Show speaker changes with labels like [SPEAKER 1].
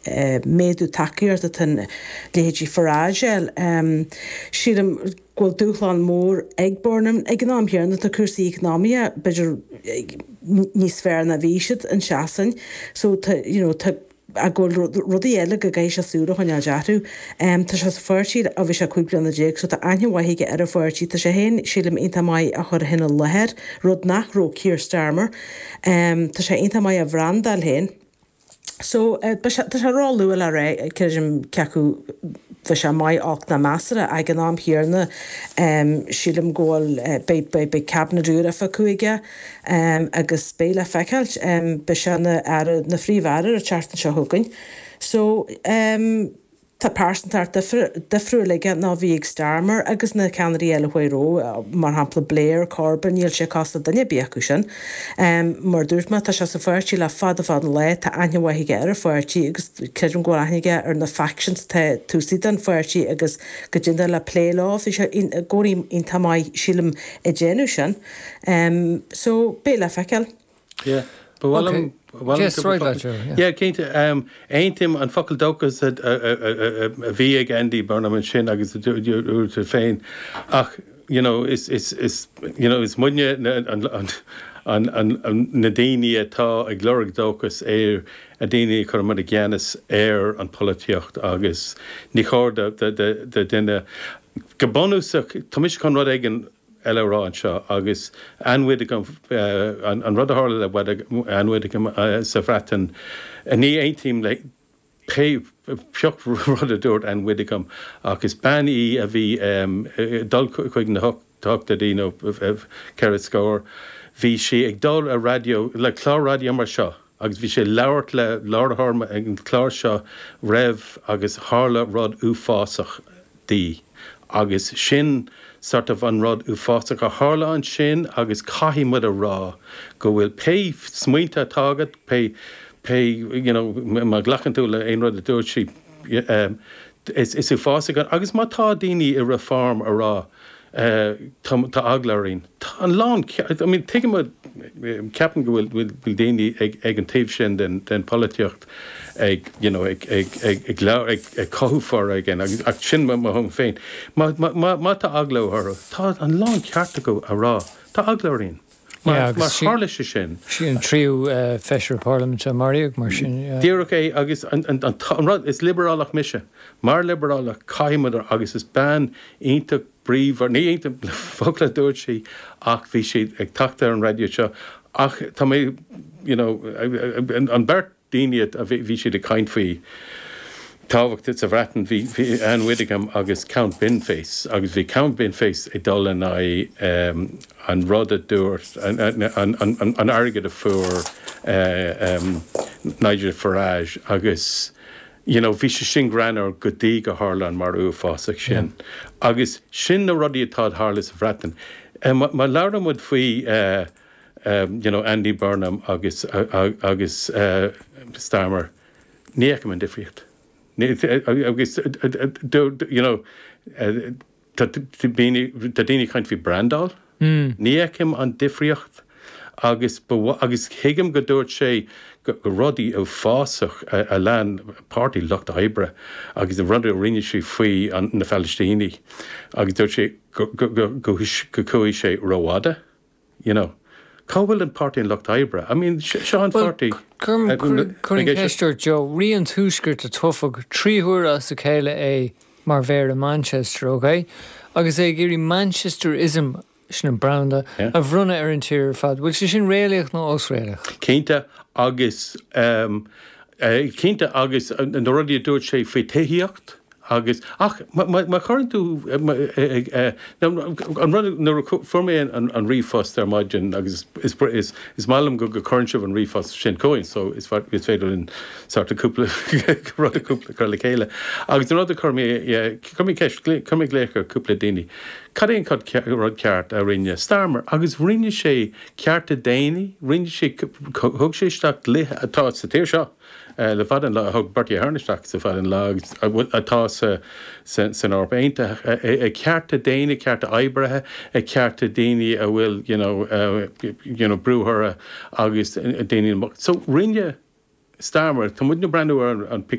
[SPEAKER 1] méadú tacaíochta atá leithéidí Farage a fháil. Sílim go bhfuil dúshlán mór ag Burnham. Ag an am chéanna tá cúrsaí eacnamaíocha b'fhéidir níos fearr ná bhí siad i Sasain so tá you know tá ach go bhfuil rudaí eile go gcaithfidh sé súil a choinneáil orthu. Tá sé sa pháirtí ó bhí sé 15 bliana so tá aithne mhaith aige ar an pháirtí. Tá sé féin, sílim, iontach maith á chur féin i láthair, rud nach raibh Keir Starmer. Tá sé iontach maith á bhrandáil féin. So, tá sé ró-luath le rá, creidim, cé acu bheidh sé maith, olc ná measartha. Ag an am chéanna, sílim go bhfuil, beidh, beidh, beidh cabinet úr acu aige agus beidh le feiceáil. Beidh sé ina aire, ina phríomh-aire an tseachtain seo chugainn. So, Tá pearsantacht difriúil aige ná bhí ag Starmer agus na ceannairí eile a chuaigh roimhe, mar shampla Blair, Corbyn, níl sé cosúil le duine ar bith acu sin. Mar a dúirt mé, tá sé sa pháirtí le fada fada an lá, tá aithne mhaith aige ar an pháirtí agus creidim go bhfuil aithne aige ar na factions atá taobh istigh den pháirtí agus go dtig leis plé leo. Bhí sé i gcónaí iontach maith, sílim, ag déanamh sin. So, beidh le feiceáil.
[SPEAKER 2] Yeah. Ba mhaith liom, ba mhaith liom
[SPEAKER 3] Yes, right leat, Joe, yeah.
[SPEAKER 2] Yeah, cinnte. Aontaím an focal dóchas a bhí ag Andy Burnham ansin agus a dúirt tú féin ach you know is is is you know is muidne na an an an na daoine atá ag lorg dóchas ar na daoine a chuireann muid i gceannas ar an polaitíocht agus ní chóir do do do duine go bunúsach tá mise chun rud éigin eile a rá anseo agus Ann Widdecombe, an rud a tharla le Ann Widdecombe sa Bhreatain, ní aontaím le pé pioc rud a dúirt Ann Widdecombe ach is bean í a bhí ag dul chuig na hochtóidí nó ceithre scór, bhí sí ag dul ar raidió, le clár raidió mar seo agus bhí sí ag labhairt le láithreoir ag an chlár seo roimh agus tharla rud uafásach di agus sin sort of an rud uafásach a tharla ansin agus caithfidh muid a rá go bhfuil pé smaointe atá agat, pé, pé, you know, má ghlacann tú le aon rud a dúirt sí, is, is uafásach an, agus má tá daoine i Reform a rá tá, tá eagla orainn, tá an lán, I mean tuigim, ceapaim go bhfuil, bhfuil daoine ag, ag an taobh sin den, den pholaitíocht ag you know ag ag ag ag ag ag cothú foréigin agus ach sin mo mo thuairim féin. Má má má má tá eagla orthu, tá an lán ceart acu a rá, tá eagla orainn. Mar
[SPEAKER 3] Yeah,
[SPEAKER 2] mar
[SPEAKER 3] agus sí
[SPEAKER 2] tharla sé sin.
[SPEAKER 3] sí an tríú feisire parlaiminte a maraíodh mar sin, yeah.
[SPEAKER 2] Díreach é agus an an an an rud, is liobrálach mise. Mar liobrálach caithfidh muid a agus is bean iontach bríomhar, ní aontaím le focal a dúirt sí ach bhí sí ag teacht ar an raidió seo ach tá mé you know an beirt daoine a bhí siad ag caint faoi tábhacht sa Bhreatain, bhí Ann Widdecombe agus Count Binface agus bhí Count Binface ag dul in aghaidh an rud a dúirt, an airgead a fuair Nigel Farage agus you know bhí sé sin greannmhar go dtí go tharla an marú uafásach sin. Agus sin na rudaí atá ag tarlú sa Bhreatain. Má labhrann muid faoi you know Andy Burnham agus agus Starmer, ní fheicim an difríocht. Agus you know tá daoine tá daoine ag caint faoi brandáil. Ní fheicim an difríocht agus ba agus thuigim go dúirt sé go rudaí uafásach a lean Páirtí Lucht Oibre agus na rudaí a rinne sé faoi na Palaistínigh agus dúirt sé go go go chuaigh sé rófhada. You know. Cá bhfuil an Páirtí an Lucht Oibre? I mean, seo an pháirtí.
[SPEAKER 3] Cuirim ceist ort, Joe. Rí an Tuaiscirt a toghadh 3 huaire as a chéile é mar mhéara Manchester, ok? Agus é ag iarraidh Manchesterism, sin an branda, a bhronnadh ar an tír ar fad. Bhfuil sé sin réalaíoch nó osréalaíoch?
[SPEAKER 2] Cinnte, agus cinnte, agus na rudaí a dúirt sé faoi tithíocht, Agus, ach, má chuireann tú, an rud, nuair a fuair mé an ríomhphost ar maidin agus is maith liom go gcuireann sibh an ríomhphost sin chugainn so is féidir linn sort of cúpla rud a cúpla cur le chéile. Agus an rud a chuir mé, chuir mé ceist, chuir mé glaoch ar cúpla daoine, cad é an rud ceart a rinne Starmer? Agus rinne sé cearta daonna, rinne sé, thug sé isteach dlíthe atá sa tír seo, le fada an lá, a thug Bertie Ahern isteach le fada an lá agus atá san Eoraip Aontaithe, cearta daonna, cearta oibrithe, cearta daoine a bhfuil you know you know brú orthu agus daoine. So rinne Starmer, tá muidne ag breathnú ar an.